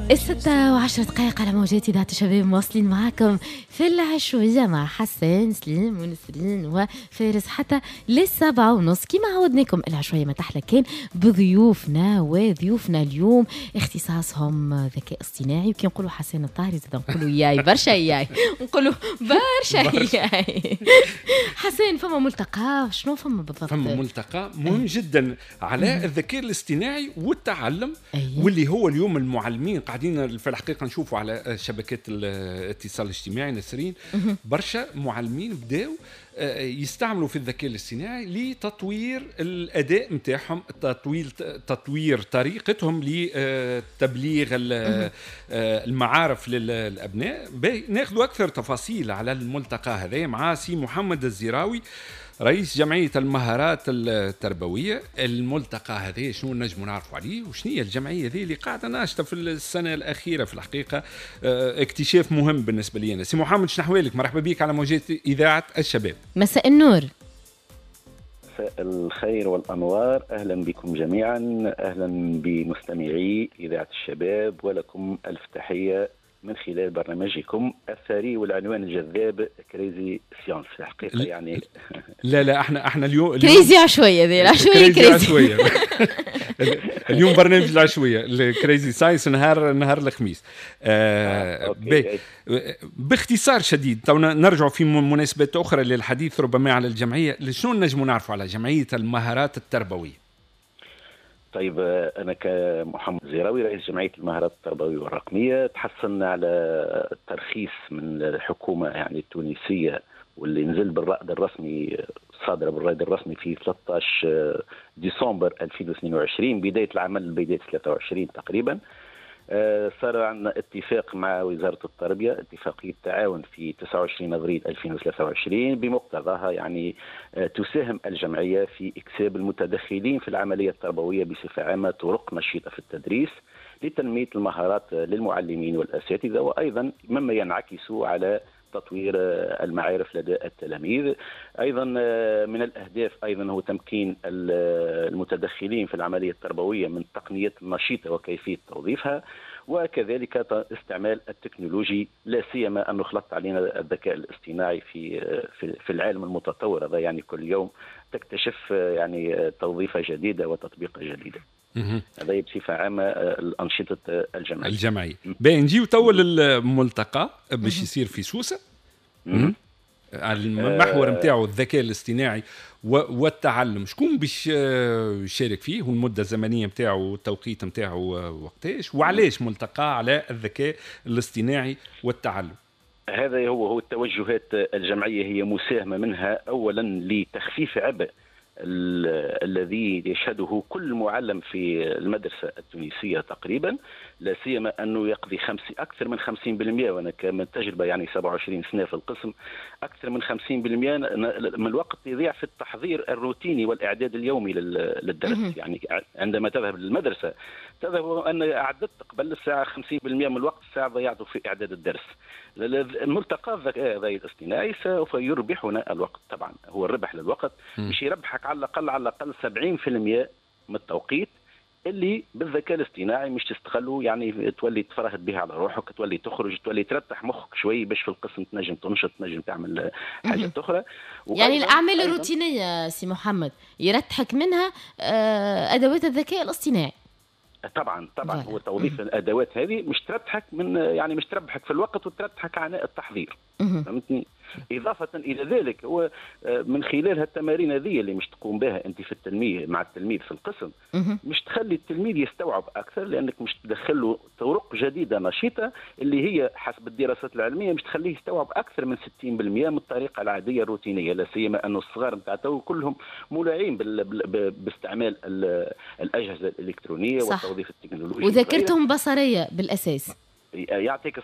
6:10 على موجات إذاعة الشباب، مواصلين معاكم في العشوية مع حسان سليم ونسرين وفارس حتى لل7:30. كما عودناكم العشوية ما تحلى كان بضيوفنا، وضيوفنا اليوم اختصاصهم ذكاء اصطناعي. وكي نقولوا حسان الطاهري زاد نقولوا ياي برشا، ياي نقولوا برشا ياي. حسان، فما ملتقى، شنو فما بالضبط؟ فما ملتقى مهم جدا على الذكاء الاصطناعي والتعلم. واللي هو اليوم المعلمين قاعدين في الحقيقة نشوفوا على شبكات الاتصال الاجتماعي، نسرين، برشا معلمين بداوا يستعملوا في الذكاء الاصطناعي لتطوير الاداء نتاعهم، تطوير طريقتهم لتبليغ المعارف للابناء. ناخذ اكثر تفاصيل على الملتقى هذا مع سي محمد الزراوي، رئيس جمعية المهارات التربوية. الملتقى هذا شنو نجم نعرفوا عليه؟ وشنو هي الجمعية هذه اللي قاعدة ناشطة في السنة الأخيرة؟ في الحقيقة اكتشاف مهم بالنسبة لي أنا. سي محمد، شنو أحوالك؟ مرحبا بك على موجات إذاعة الشباب. مساء النور. مساء الخير والأنوار، أهلا بكم جميعا، أهلا بمستمعي إذاعة الشباب، ولكم ألف تحية من خلال برنامجكم الثري والعنوان الجذاب crazy science الحقيقة يعني. لا لا، احنا اليوم crazy عشويه، ذي العشويه. crazy عشويه. اليوم برنامج العشويه ال crazy science نهار الخميس. باختصار شديد، تو نرجع في مناسبات اخرى للحديث ربما على الجمعيه. شنو نجم نعرفوا على جمعية المهارات التربوية؟ طيب، أنا كمحمد زيراوي، رئيس جمعية المهارات التربوية والرقمية، تحصلنا على ترخيص من الحكومة يعني التونسية، واللي نزل بالرائد الرسمي، صادر بالرائد الرسمي في 13 ديسمبر 2022، بداية العمل بداية 23 تقريبا. صار عندنا اتفاق مع وزارة التربية، اتفاقية تعاون في 29 ابريل 2023، بمقتضاها يعني تساهم الجمعية في اكساب المتدخلين في العملية التربوية بصفة عامة طرق نشيطة في التدريس لتنمية المهارات للمعلمين والأساتذة، وأيضا مما ينعكس على تطوير المعارف لدى التلاميذ. ايضا من الاهداف ايضا هو تمكين المتدخلين في العملية التربوية من التقنيات النشيطه وكيفية توظيفها، وكذلك استعمال التكنولوجي، لا سيما انه خلط علينا الذكاء الاصطناعي في العالم المتطور هذا، يعني كل يوم تكتشف يعني توظيفه جديدة وتطبيقه جديده. هذا بصفة عامة الانشطة الجمعيه. الجمعيه. باهي، نجيو تو للملتقى باش يصير في سوسه، المحور نتاعو الذكاء الاصطناعي والتعلم. شكون باش يشارك فيه؟ والمدة الزمنية نتاعو والتوقيت نتاعو وقتاش؟ وعلاش ملتقى على الذكاء الاصطناعي والتعلم؟ هذا هو التوجهات الجمعيه، هي مساهمة منها اولا لتخفيف عبء الذي يشهده كل معلم في المدرسة التونسية تقريبا، لا سيما أنه يقضي أكثر من 50%، وأنا كمن تجربة يعني 27 سنة في القسم، أكثر من 50% من الوقت يضيع في التحضير الروتيني والإعداد اليومي للدرس. يعني عندما تذهب للمدرسة تذهب أن أعددت قبل الساعة 50% من الوقت، الساعة ضيعته في إعداد الدرس. الملتقى الذكاء الاصطناعي سوف يربحنا الوقت، طبعا هو الربح للوقت، مش يربحك على الاقل 70% من التوقيت اللي بالذكاء الاصطناعي مش تستغله، يعني تولي تفرهد بها على روحك، تولي تخرج، تولي ترتاح مخك شوي باش في القسم تنجم تنشط، تنجم تعمل حاجات اخرى. يعني الاعمال الروتينية سي محمد يرتحك منها ادوات الذكاء الاصطناعي. طبعا طبعا، هو توظيف الادوات هذه مش تربحك من يعني مش تربحك في الوقت وتربحك عناء التحضير، فهمتني؟ إضافة إلى ذلك، هو من خلال هالتمارين هذه اللي مش تقوم بها أنت في التلميذ مع التلميذ في القسم، مش تخلي التلميذ يستوعب أكثر، لأنك مش تدخل له طرق جديدة نشيطة اللي هي حسب الدراسات العلمية مش تخليه يستوعب أكثر من 60% من الطريقة العادية الروتينية، لا سيما أن الصغار نتاع تو كلهم مولعين باستعمال الأجهزة الإلكترونية والتوظيف التكنولوجي. وذاكرتهم بصرية بالأساس. يعطيك